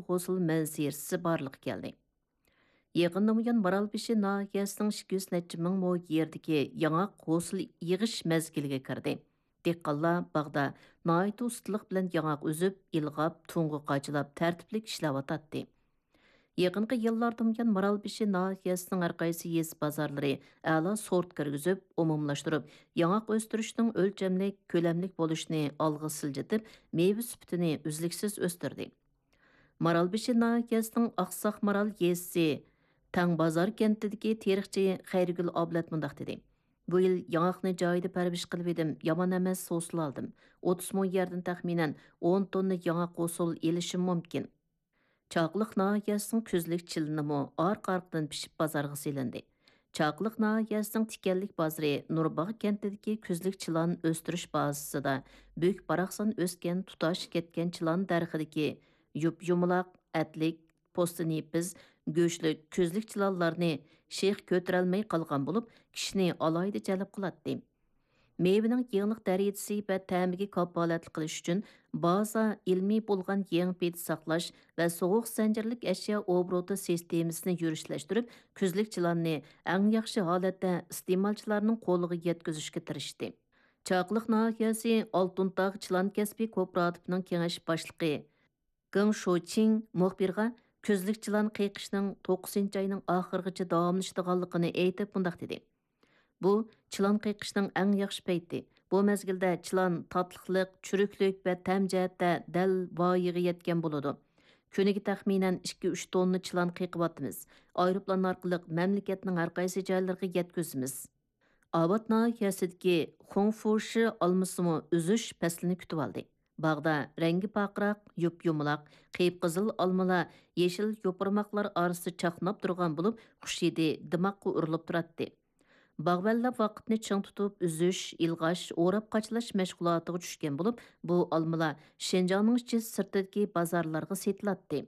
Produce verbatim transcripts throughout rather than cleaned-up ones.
ھوسۇل مەنزىرىسى بارلىققا كەلدى. يېقىندىن بۇيان، مارالبېشى ناھىيەسىنىڭ ئىككى يۈز نەچچە مىڭ مو يېرىدىكى ياڭاق ھوسۇل يىغىش مەزگىلىگە كىردى. دېھقانلار باغدا ناھايىتى ئۇستىلىق بىلەن ياڭاق ئۈزۈپ، ئىلغاپ، تۇڭغا قاچىلاپ، تەرتىپلىك ئىشلەۋاتاتتى. يېقىنقى يىللاردىن بۇيان، مارالبېشى ناھىيەسىنىڭ ھەر قايسى يېزا بازارلىرى ئەلا سورت كىرگۈزۈپ، ئومۇملاشتۇرۇپ، ياڭاق ئۆستۈرۈشنىڭ ئۆلچەملىك، كۆلەملىك بولۇشىنى ئالغا سىلجىتىپ، مېۋە سۈپىتىنى ئۈزلۈكسىز ئۆستۈردى. مارالبېشى ناھىيەسىنىڭ ئاقساق مارال يېزىسى تەڭبازار كەنتىدىكى تېرىقچى خەيرىگۈل ئابلەت مۇنداق دېدى: «بۇ يىل ياڭاقنى جايىدا پەرۋىش قىلىۋىدىم، يامان ئەمەس ھوسۇل ئالدىم. ئوتتۇز مو يەردىن تەخمىنەن ئون توننا ياڭاق ھوسۇل ئېلىشىم مۇمكىن.» چاقىلىق ناھىيەسىنىڭ كۈزلۈك چىلىنىمۇ ئارقا-ئارقىدىن پىشىپ بازارغا سېلىندى. چاقىلىق ناھىيەسىنىڭ تىكەنلىك بازىرى نۇرباغ كەنتىدىكى كۈزلۈك چىلان ئۆستۈرۈش بازىسىدا بۈك-باراقسان ئۆسكەن تۇتاش كەتكەن چىلان دەرىخىدىكى يۇپ-يۇمىلاق، ئەتلىك، پوستى نېپىز، گۆشلۈك كۈزلۈك چىلانلارنى شېخ كۆتۈرەلمەي قالغان بولۇپ، كىشىنى ئالاھىدە جەلپ قىلاتتى. مېۋىنىڭ يېڭىلىق دەرىجىسى ۋە تەمىگە كاپالەتلىك قىلىش ئۈچۈن، بازا ئىلمىي بولغان يېڭى پېتى ساقلاش ۋە سوغۇق زەنجىرلىك ئەشيا ئوبوروتى سىستېمىسىنى يۈرۈشلەشتۈرۈپ، كۈزلۈك چىلاننى ئەڭ ياخشى ھالەتتە ئىستېمالچىلارنىڭ قولىغا يەتكۈزۈشكە تىرىشتى. چاقىلىق ناھىيەسى ئالتۇن تاغ چىلان كەسپى كوپىراتىپىنىڭ كېڭەش باشلىقى گېڭ شوچىڭ مۇخبىرغا كۈزلۈك چىلان قېقىشنىڭ توققۇزىنچى ئاينىڭ ئاخىرىغىچە داۋاملىشىدىغانلىقىنى ئېيتىپ، مۇنداق دېدى: «بۇ چىلان قېقىشنىڭ ئەڭ ياخشى پەيتى. بۇ مەزگىلدە چىلان تاتلىقلىق، چۈرۈكلۈك ۋە تەم جەھەتتە دەل ۋايىغا يەتكەن بولىدۇ. كۈنىگە تەخمىنەن ئىككى ئۈچ توننا چىلان قېقىۋاتىمىز. ئايروپىلان ئارقىلىق مەملىكەتنىڭ ھەر قايسى جايلىرىغا يەتكۈزىمىز.» ئاۋات ناھىيەسىدىكى خۇڭفۇشى ئالمىسىمۇ ئۈزۈش پەسلىنى كۈتۈۋالدى. باغدا رەڭگى پارقىراق، يۇپ-يۇمىلاق، قىپقىزىل ئالمىلار يېشىل يوپۇرماقلار ئارىسىدا چاقناپ تۇرغان بولۇپ، خۇش ھىدى دىماغقا ئۇرۇلۇپ تۇراتتى. باغۋەنلەر ۋاقىتنى چىڭ تۇتۇپ، ئۈزۈش، ئىلغاش، ئوراپ قاچىلاش مەشغۇلاتىغا چۈشكەن بولۇپ، بۇ ئالمىلار شىنجاڭنىڭ ئىچى سىرتىدىكى بازارلارغا سېتىلاتتى.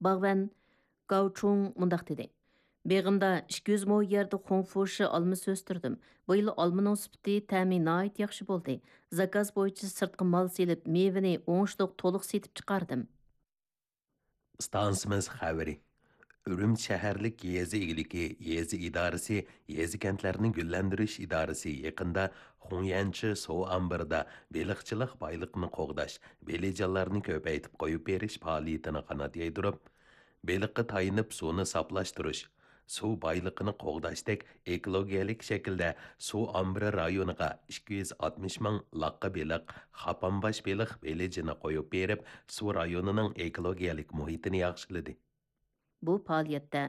باغۋەن گاۋچۇڭ مۇنداق دېدى: «بېغىمدا ئىككى يۈز مو يەردە خۇڭفۇشى ئالمىسى ئۆستۈردۈم. بۇ يىل ئالمىنىڭ سۈپىتى، تەمى ناھايىتى ياخشى بولدى. زاكاز بويىچە سىرتقا مال سېلىپ، مېۋىنى ئوڭۇشلۇق تولۇق سېتىپ چىقاردىم.» ئىستانسىمىز خەۋىرى. ئۈرۈمچى شەھەرلىك يېزا ئىگىلىكى يېزا ئىدارىسى، يېزا كەنتلەرنى گۈللەندۈرۈش ئىدارىسى يېقىندا خۇڭيەنچى سۇ ئامبىرىدا بېلىقچىلىق بايلىقىنى قوغداش، بېلىجانلارنى كۆپەيتىپ قويۇپ بېرىش پائالىيىتىنى قانات يايدۇرۇپ، بېلىققا تايىنىپ سۇنى ساپلاشتۇرۇش، سۇ بايلىقىنى قوغداشتەك ئېكولوگىيەلىك شەكىلدە سۇ ئامبىرى رايونىغا ئىككى يۈز ئاتمىش مىڭ لاققا بېلىق، خاپانباش بېلىق بېلىجىنى قويۇپ بېرىپ، سۇ رايونىنىڭ ئېكولوگىيەلىك مۇھىتىنى ياخشىلىدى. بۇ پائالىيەتتە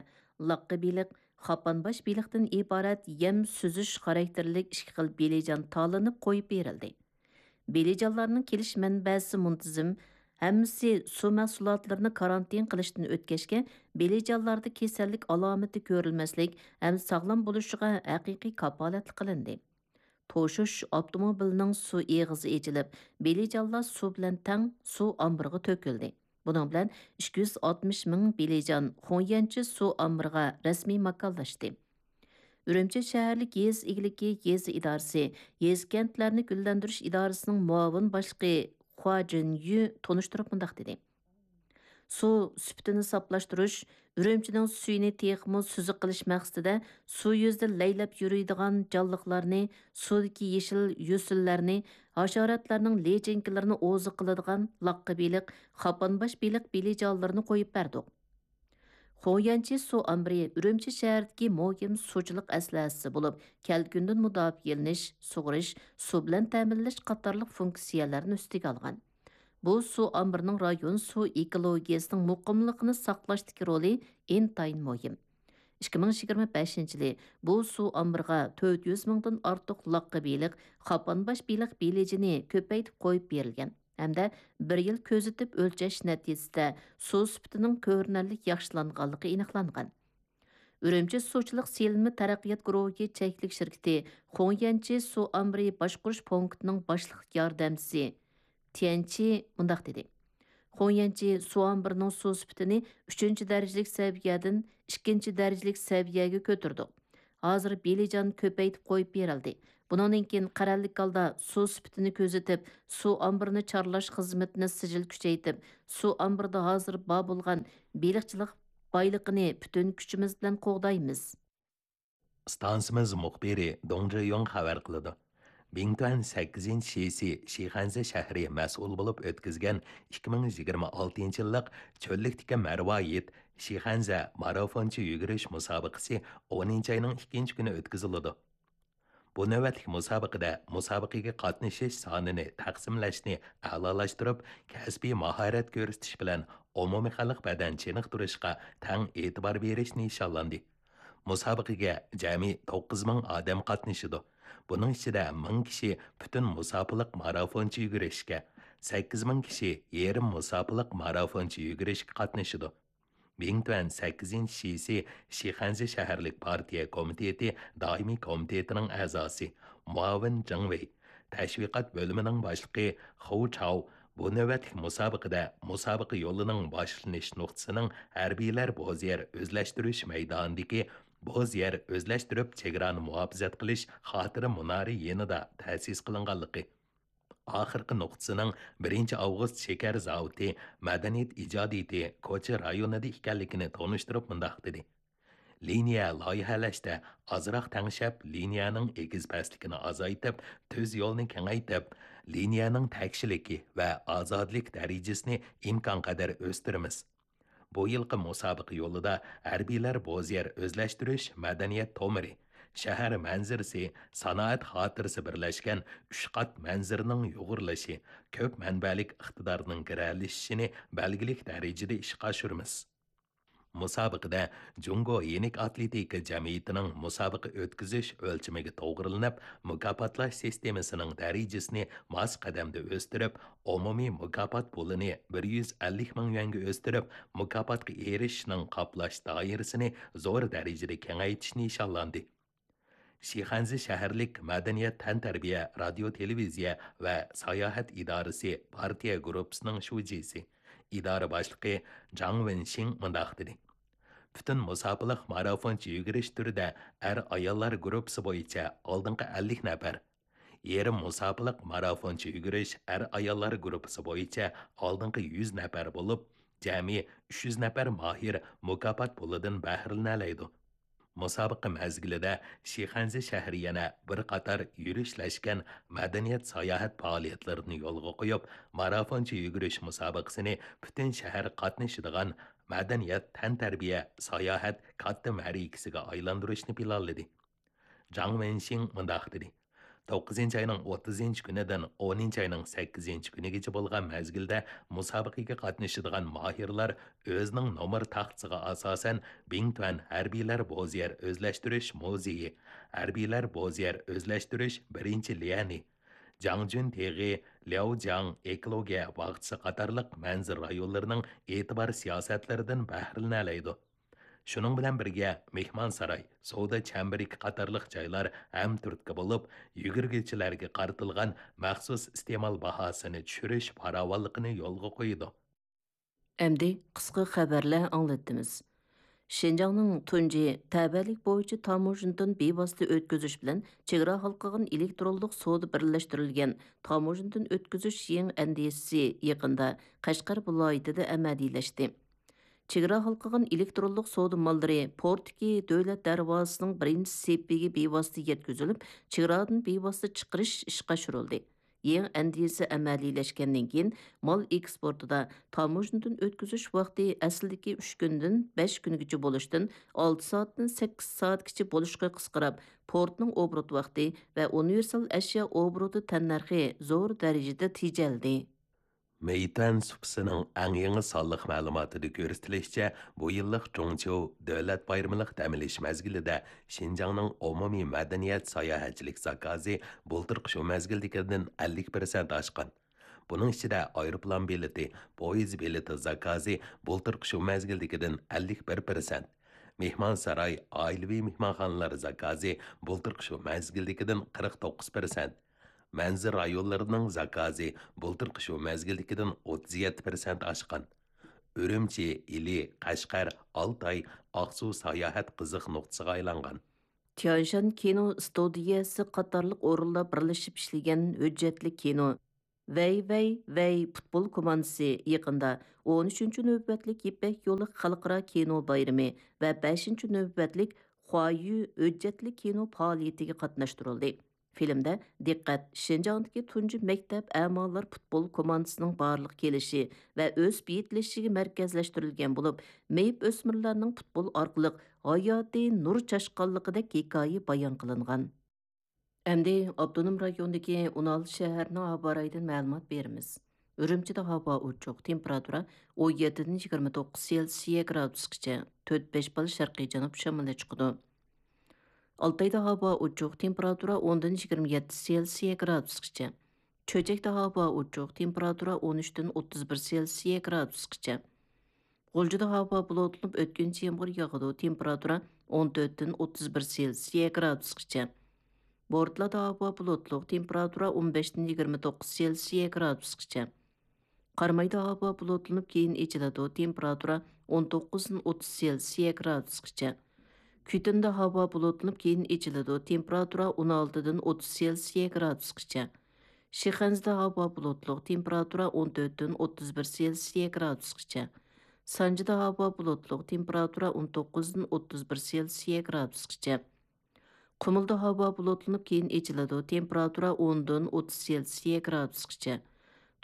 لاققا بېلىق، خاپانباش بېلىقتىن ئىبارەت يەم سۈزۈش خاراكتېرلىك ئىككى خىل بېلىجان تاللىنىپ قويۇپ بېرىلدى. بېلىجانلارنىڭ كېلىش مەنبەسى مۇنتىزىم، ھەممىسى سۇ مەھسۇلاتلىرىنى كارانتىن قىلىشتىن ئۆتكەچكە، بېلىجانلاردا كېسەللىك ئالامىتى كۆرۈلمەسلىك ھەم ساغلام بولۇشىغا ھەقىقىي كاپالەتلىك قىلىندى. توشۇش ئاپتوموبىلىنىڭ سۇ ئېغىزى ئېچىلىپ، بېلىجانلار سۇ بىلەن تەڭ سۇ ئامبىرىغا تۆكۈلدى. بۇنىڭ بىلەن ئىككى يۈز ئاتمىش مىڭ بېلىجان خۇڭيەنچى سۇ ئامبىرىغا رەسمىي ماكانلاشتى. ئۈرۈمچى شەھەرلىك يېزا ئىگىلىكى يېزا ئىدارىسى، يېزا كەنتلەرنى گۈللەندۈرۈش ئىدارىسىنىڭ مۇئاۋىن باشلىقى خۇا جىنيۈ تونۇشتۇرۇپ مۇنداق دېدى: سۇ سۈپىتىنى ساپلاشتۇرۇش، ئۈرۈمچىنىڭ سۈيىنى تېخىمۇ سۈزۈك قىلىش مەقسىتىدە سۇ يۈزىدە لەيلەپ يۈرىدىغان جانلىقلارنى، سۇدىكى يېشىل يۈسۈنلەرنى، ھاشاراتلارنىڭ لىچىنكىلىرىنى ئوزۇق قىلىدىغان لاققا بېلىق، خاپانباش بېلىق بېلىجانلىرىنى قويۇپ بەردۇق. خۇڭيەنچى سۇ ئامبىرى ئۈرۈمچى شەھىرىدىكى مۇھىم سۇچىلىق ئەسلىھەسى بولۇپ، كەلكۈندىن مۇداپىئەلىنىش، سۇغىرىش، سۇ بىلەن تەمىنلەش قاتارلىق فۇنكسىيەلەرنى ئۈستىگە ئالغان. بۇ سۇ ئامبىرىنىڭ رايون سۇ ئېكولوگىيەسىنىڭ مۇقىملىقىنى ساقلاشتىكى رولى ئىنتايىن مۇھىم. ئىككى مىڭ يىگىرمە بەشىنچى يىلى بۇ سۇ ئامبىرىغا تۆت يۈز مىڭدىن ئارتۇق لاققا بېلىق، خاپانباش بېلىق بېلىجىنى كۆپەيتىپ قويۇپ بېرىلگەن ھەمدە بىر يىل كۆزىتىپ ئۆلچەش نەتىجىسىدە سۇ سۈپىتىنىڭ كۆرۈنەرلىك ياخشىلانغانلىقى ئېنىقلانغان. ئۈرۈمچى سۇچىلىق سېلىنما تەرەققىيات گۇرۇھى چەكلىك شىركىتى خۇڭيەنچى سۇ ئامبىرى باشقۇرۇش پونكىتىنىڭ باشلىق ياردەمچىسى تيەنچى مۇنداق دېدى: خۇڭيەنچى سۇ ئامبىرىنىڭ سۇ سۈپىتىنى ئۈچىنچى دەرىجىلىك سەۋىيەدىن ئىككىنچى دەرىجىلىك سەۋىيەگە كۆتۈردۇق. ھازىر بېلىجان كۆپەيتىپ قويۇپ بېرىلدى. بۇنىڭدىن كېيىن قەرەللىك ھالدا سۇ سۈپىتىنى كۆزىتىپ، سۇ ئامبىرىنى چارلاش خىزمىتىنى سىجىل كۈچەيتىپ، سۇ ئامبىرىدا ھازىر بار بولغان بېلىقچىلىق بايلىقىنى پۈتۈن كۈچىمىز بىلەن قوغدايمىز. ئىستانسىمىز مۇخبىرى دۇڭ جېيۇڭ خەۋەر قىلىدۇ. بىڭتۈەن سەككىزىنچى شىسى شىخەنزە شەھىرى مەسئۇلى بولۇپ ئۆتكۈزگەن ئىككى مىڭ يىگىرمە ئالتىنچى يىللىق چۆللۈكتىكى مەرۋايىت شىخەنزە مارافونچە يۈگۈرۈش مۇسابىقىسى ئونىنچى ئاينىڭ ئىككىنچى كۈنى ئۆتكۈزۈلىدۇ. بۇ نۆۋەتلىك مۇسابىقىدە مۇسابىقىگە قاتنىشىش سانىنى تەقسىملەشنى ئەلالاشتۇرۇپ، كەسپىي ماھارەت كۆرسىتىش بىلەن ئومۇمىي خەلق بەدەن چېنىقتۇرۇشقا تەڭ ئېتىبار بېرىش نىشانلاندى. مۇسابىقىگە جەمئىي توققۇز مىڭ ئادەم قاتنىشىدۇ. بۇنىڭ ئىچىدە مىڭ كىشى پۈتۈن مۇساپىلىق مارافونچە يۈگۈرۈشكە، سەككىز مىڭ كىشى يېرىم مۇساپىلىق مارافونچە يۈگۈرۈشكە قاتنىشىدۇ. بىڭتۈەن سەككىزىنچى شىسى شىخەنزە شەھەرلىك پارتىيە كومىتېتى دائىمىي كومىتېتىنىڭ ئەزاسى، مۇئاۋىن جېڭ ۋېي، تەشۋىقات بۆلۈمىنىڭ باشلىقى خۇ چاۋ بۇ نۆۋەتلىك مۇسابىقىدە مۇسابىقە يولىنىڭ باشلىنىش نۇقتىسىنىڭ ھەربىيلەر بوز يەر ئۆزلەشتۈرۈش مەيدانىدىكى بوز يەر ئۆزلەشتۈرۈپ چېگرانى مۇھاپىزەت قىلىش خاتىرە مۇنارى يېنىدا تەسىس قىلىنغانلىقى، ئاخىرقى نۇقتىسىنىڭ بىرىنچى ئاۋغۇست شېكەر زاۋۇتى مەدەنىيەت ئىجادىيىتى كوچا رايونىدا ئىكەنلىكىنى تونۇشتۇرۇپ مۇنداق دېدى: لىنىيە لايىھەلەشتە ئازراق تەڭشەپ، لىنىيەنىڭ ئېگىز پەسلىكىنى ئازايتىپ، تۈز يولنى كېڭەيتىپ، لىنىيەنىڭ تەكشىلىكى ۋە ئازادىلىك دەرىجىسىنى ئىمكانقەدەر ئۆستۈرىمىز. بۇ يىلقى مۇسابىقە يولىدا ھەربىيلەر بوز يەر ئۆزلەشتۈرۈش مەدەنىيەت تومۇرى، شەھەر مەنزىرىسى، سانائەت خاتىرىسى بىرلەشكەن ئۈچ قات مەنزىرىنىڭ يۇغۇرۇلۇشى، كۆپ مەنبەلىك ئىقتىدارنىڭ گىرەلىشىشىنى بەلگىلىك دەرىجىدە ئىشقا ئاشۇرىمىز. مۇسابىقىدە جۇڭگو يېنىك ئاتلېتىكا جەمئىيىتىنىڭ مۇسابىقە ئۆتكۈزۈش ئۆلچىمىگە توغرىلىنىپ، مۇكاپاتلاش سىستېمىسىنىڭ دەرىجىسىنى ماس قەدەمدە ئۆستۈرۈپ، ئومۇمىي مۇكاپات پۇلىنى بىر يۈز ئەللىك مىڭ يۈەنگە ئۆستۈرۈپ، مۇكاپاتقا ئېرىشىشنىڭ قاپلاش دائىرىسىنى زور دەرىجىدە كېڭەيتىش نىشانلاندى. شىخەنزە شەھەرلىك مەدەنىيەت، تەنتەربىيە، رادىيو، تېلېۋىزىيە ۋە ساياھەت ئىدارىسى پارتىيە گۇرۇپپىسىنىڭ شۇجىسى، ئىدارە باشلىقى جاڭ ۋېنشىڭ مۇنداق دېدى: پۈتۈن مۇساپىلىق مارافونچە يۈگۈرۈش تۈرىدە ئەر-ئاياللار گۇرۇپپىسى بويىچە ئالدىنقى ئەللىك نەپەر، يېرىم مۇساپىلىق مارافونچە يۈگۈرۈش ئەر-ئاياللار گۇرۇپپىسى بويىچە ئالدىنقى يۈز نەپەر بولۇپ، جەمئىي ئۈچ يۈز نەپەر ماھىر مۇكاپات پۇلىدىن بەھرىلىنەلەيدۇ. مۇسابىقە مەزگىلىدە شىخەنزە شەھىرى يەنە بىر قاتار يۈرۈشلەشكەن مەدەنىيەت ساياھەت پائالىيەتلىرىنى يولغا قويۇپ، مارافونچە يۈگۈرۈش مۇسابىقىسىنى پۈتۈن شەھەر قاتنىشىدىغان مەدەنىيەت، تەنتەربىيە، ساياھەت كاتتا مەرىكىسىگە ئايلاندۇرۇشنى پىلانلىدى. جاڭ ۋېنشىڭ مۇنداق دېدى: توققۇزىنچى ئاينىڭ ئوتتۇزىنچى كۈنىدىن ئونىنچى ئاينىڭ سەككىزىنچى كۈنىگىچە بولغان مەزگىلدە مۇسابىقىگە قاتنىشىدىغان ماھىرلار ئۆزىنىڭ نومۇر تاختىسىغا ئاساسەن، بىڭتۈەن ھەربىيلەر بوز يەر ئۆزلەشتۈرۈش مۇزېيى، ھەربىيلەر بوز يەر ئۆزلەشتۈرۈش بىرىنچى ليەنى، جاڭجۈن تېغى، لياۋجياڭ ئېكولوگىيە باغچىسى قاتارلىق مەنزىرە رايونلىرىنىڭ ئېتىبار سىياسەتلىرىدىن بەھرىلىنەلەيدۇ. شۇنىڭ بىلەن بىرگە، مېھمانساراي، سودا چەمبىرىكى قاتارلىق جايلار ھەم تۈرتكە بولۇپ، يۈگۈرگۈچىلەرگە قارىتىلغان مەخسۇس ئىستېمال باھاسىنى چۈشۈرۈش پاراۋانلىقىنى يولغا قويىدۇ. ئەمدى قىسقا خەۋەرلەر ئاڭلىتىمىز. شىنجاڭنىڭ تۇنجى تەۋەلىك بويىچە تاموژنىدىن بىۋاسىتە ئۆتكۈزۈش بىلەن چېگرا ھالقىغان ئېلېكترونلۇق سودا بىرلەشتۈرۈلگەن تاموژنىدىن ئۆتكۈزۈش يېڭى ئەندىزىسى يېقىندا قەشقەر ۋىلايىتىدە ئەمەلىيلەشتى. چېگرا ھالقىغان ئېلېكترونلۇق سودا ماللىرى پورتتىكى دۆلەت دەرۋازىسىنىڭ بىرىنچى سېپىگە بىۋاسىتە يەتكۈزۈلۈپ، چېگرادىن بىۋاسىتە چىقىرىش ئىشقا ئاشۇرۇلدى. يېڭى ئەندىزە ئەمەلىيلەشكەندىن كېيىن، مال ئېكسپورتىدا تاموژنىدىن ئۆتكۈزۈش ۋاقتى ئەسلىدىكى ئۈچ كۈندىن بەش كۈنگىچە بولۇشتىن، ئالتە سائەتتىن سەككىز سائەتكىچە بولۇشقا قىسقىراپ، پورتنىڭ ئوبوروت ۋاقتى ۋە ئۇنىۋېرسال ئەشيا ئوبوروتى تەننەرخى زور دەرىجىدە تېجەلدى. مېيتۈەن سۇپىسىنىڭ ئەڭ يېڭى سانلىق مەلۇماتىدا كۆرسىتىلىشىچە، بۇ يىللىق جۇڭچيۇ دۆلەت بايرىمىلىق دەم ئېلىش مەزگىلىدە شىنجاڭنىڭ ئومۇمىي مەدەنىيەت ساياھەتچىلىك زاكازى بۇلتۇرقى شۇ مەزگىلدىكىدىن ئەللىك پىرسەنت ئاشقان. بۇنىڭ ئىچىدە ئايروپىلان بېلىتى، پويىز بېلىتى زاكازى بۇلتۇرقى شۇ مەزگىلدىكىدىن ئەللىك بىر پىرسەنت، مېھمانساراي، ئائىلىۋى مېھمانخانىلار زاكازى بۇلتۇرقى شۇ مەزگىلدىكىدىن قىرىق توققۇز پىرسەنت، مەنزىرە رايونلىرىنىڭ زاكازى بۇلتۇرقى شۇ مەزگىلدىكىدىن ئوتتۇز يەتتە پىرسەنت ئاشقان. ئۈرۈمچى، ئىلى، قەشقەر، ئالتاي، ئاقسۇ ساياھەت قىزىق نۇقتىسىغا ئايلانغان. تيانشان كىنو ئىستۇدىيەسى قاتارلىق ئورۇنلار بىرلىشىپ ئىشلىگەن ھۆججەتلىك كىنو ۋەي ۋەي ۋەي پۇتبول كوماندىسى يېقىندا ئون ئۈچىنچى نۆۋەتلىك يىپەك يولى خەلقئارا كىنو بايرىمى ۋە بەشىنچى نۆۋەتلىك خۇايۈ ھۆججەتلىك كىنو پائالىيىتىگە قاتناشتۇرۇلدى. فىلىمدە دىققەت شىنجاڭدىكى تۇنجى مەكتەپ ئەمالار پۇتبول كوماندىسىنىڭ بارلىققا كېلىشى ۋە ئۆسۈپ يېتىلىشىگە مەركەزلەشتۈرۈلگەن بولۇپ، مېيىپ ئۆسمۈرلەرنىڭ پۇتبول ئارقىلىق ھاياتىي نۇر چاچقانلىقىدەك ھېكايە بايان قىلىنغان. ئەمدى ئاپتونوم رايوندىكى ئون ئالتە شەھەرنىڭ ھاۋا رايىدىن مەلۇمات بېرىمىز. ئۈرۈمچىدە ھاۋا ئوچۇق، تېمپېراتۇرا ئون يەتتىدىن يىگىرمە توققۇز سېلسىيە گرادۇسقىچە، تۆت بەش بال شەرقىي جەنۇب شامىلى چىقىدۇ. ئالتايدا ھاۋا ئوچۇق، تېمپېراتۇرا ئوندىن يىگىرمە يەتتە سېلسىيە گرادۇسقىچە. چۆچەكتە ھاۋا ئوچۇق، تېمپېراتۇرا ئون ئۈچتىن ئوتتۇز بىر سېلسىيە گرادۇسقىچە. غۇلجىدا ھاۋا بۇلۇتلىنىپ، ئۆتكۈنچى يامغۇر ياغىدۇ، تېمپېراتۇرا ئون تۆتتىن ئوتتۇز بىر سېلسىيە گرادۇسقىچە. بورتالادا ھاۋا بۇلۇتلۇق، تېمپېراتۇرا ئون بەشتىن يىگىرمە توققۇز سېلسىيە گرادۇسقىچە. قارامايدا ھاۋا بۇلۇتلىنىپ، كېيىن ئېچىلىدۇ، تېمپېراتۇرا ئون توققۇزدىن ئوتتۇز سېلسىيە گرادۇسقىچە. كۈتۈندە ھاۋا بۇلۇتلىنىپ، كېيىن ئېچىلىدۇ، تېمپېراتۇرا ئون ئالتىدىن ئوتتۇز سېلسىيە گرادۇسقىچە. شىخەنزىدە ھاۋا بۇلۇتلۇق، تېمپېراتۇرا ئون تۆتتىن ئوتتۇز بىر سېلسىيە گرادۇسقىچە. سانجىدا ھاۋا بۇلۇتلۇق، تېمپېراتۇرا ئون توققۇزدىن ئوتتۇز بىر سېلسىيە گرادۇسقىچە. قۇمۇلدا ھاۋا بۇلۇتلىنىپ، كېيىن ئېچىلىدۇ، تېمپېراتۇرا ئوندىن ئوتتۇز سېلسىيە گرادۇسقىچە.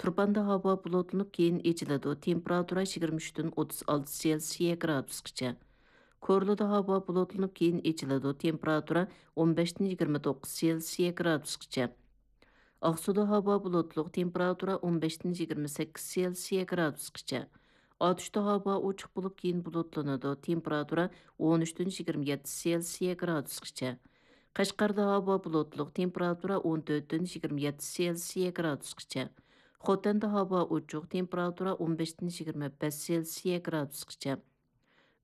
تۇرپاندا ھاۋا بۇلۇتلىنىپ، كېيىن ئېچىلىدۇ، تېمپېراتۇرا يىگىرمە ئۈچتىن ئوتتۇز ئالتە سېلسىيە گرادۇسقىچە. كورلىدا ھاۋا بۇلۇتلىنىپ، كېيىن ئېچىلىدۇ، تېمپېراتۇرا ئون بەشتىن يىگىرمە توققۇز سېلسىيە گرادۇسقىچە. ئاقسۇدا ھاۋا بۇلۇتلۇق، تېمپېراتۇرا ئون بەشتىن يىگىرمە سەككىز سېلسىيە گرادۇسقىچە. ئاتۇشتا ھاۋا ئوچۇق بولۇپ، كېيىن بۇلۇتلىنىدۇ، تېمپېراتۇرا ئون ئۈچتىن يىگىرمە يەتتە سېلسىيە گرادۇسقىچە. قەشقەردە ھاۋا بۇلۇتلۇق، تېمپېراتۇرا ئون تۆتتىن يىگىرمە يەتتە سېلسىيە گرادۇسقىچە. خوتەندە ھاۋا ئوچۇق، تېمپېراتۇرا ئون بەشتىن يىگىرمە بەش سېلسىيە گرادۇسقىچە.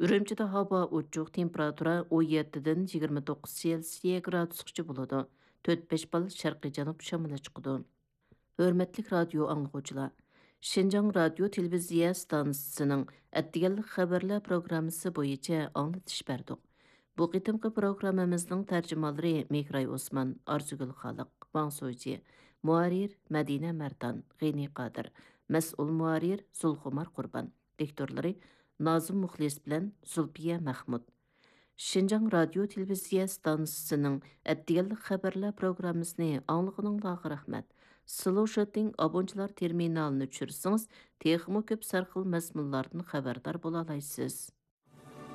ئۈرۈمچىدە ھاۋا ئوچۇق، تېمپېراتۇرا ئون يەتتىدىن يىگىرمە توققۇز سېلسىيە گرادۇسقىچە بولىدۇ. تۆت بەش بال شەرقىي جەنۇب شامىلى چىقىدۇ. ھۆرمەتلىك رادىيو ئاڭلىغۇچىلار! شىنجاڭ رادىيو تېلېۋىزىيە ئىستانسىسىنىڭ ئەتىگەنلىك خەۋەرلەر پروگراممىسى بويىچە ئاڭلىتىش بەردۇق. بۇ قېتىمقى پروگراممىمىزنىڭ تەرجىمانلىرى مېھراي ئوسمان، ئارزۇگۈل خالىق، ۋاڭ سوجى، مۇھەررىر مەدىنە مەردان، غېنى قادىر، مەسئۇل مۇھەررىر زۇلخۇمار قۇربان. دىكتورلىرى نازىم مۇخلىس بىلەن زۇلپىيە مەخمۇت. شىنجاڭ رادىيو تېلېۋىزىيە ئىستانسىسىنىڭ ئەتىگەنلىك خەۋەرلەر پروگراممىسىنى ئاڭلىغىنىڭلارغا رەھمەت. سلوشىتىڭ ئابونچىلار تېرمىنالىنى چۈشۈرسىڭىز، تېخىمۇ كۆپ سەرخىل مەزمۇنلاردىن خەۋەردار بولالايسىز.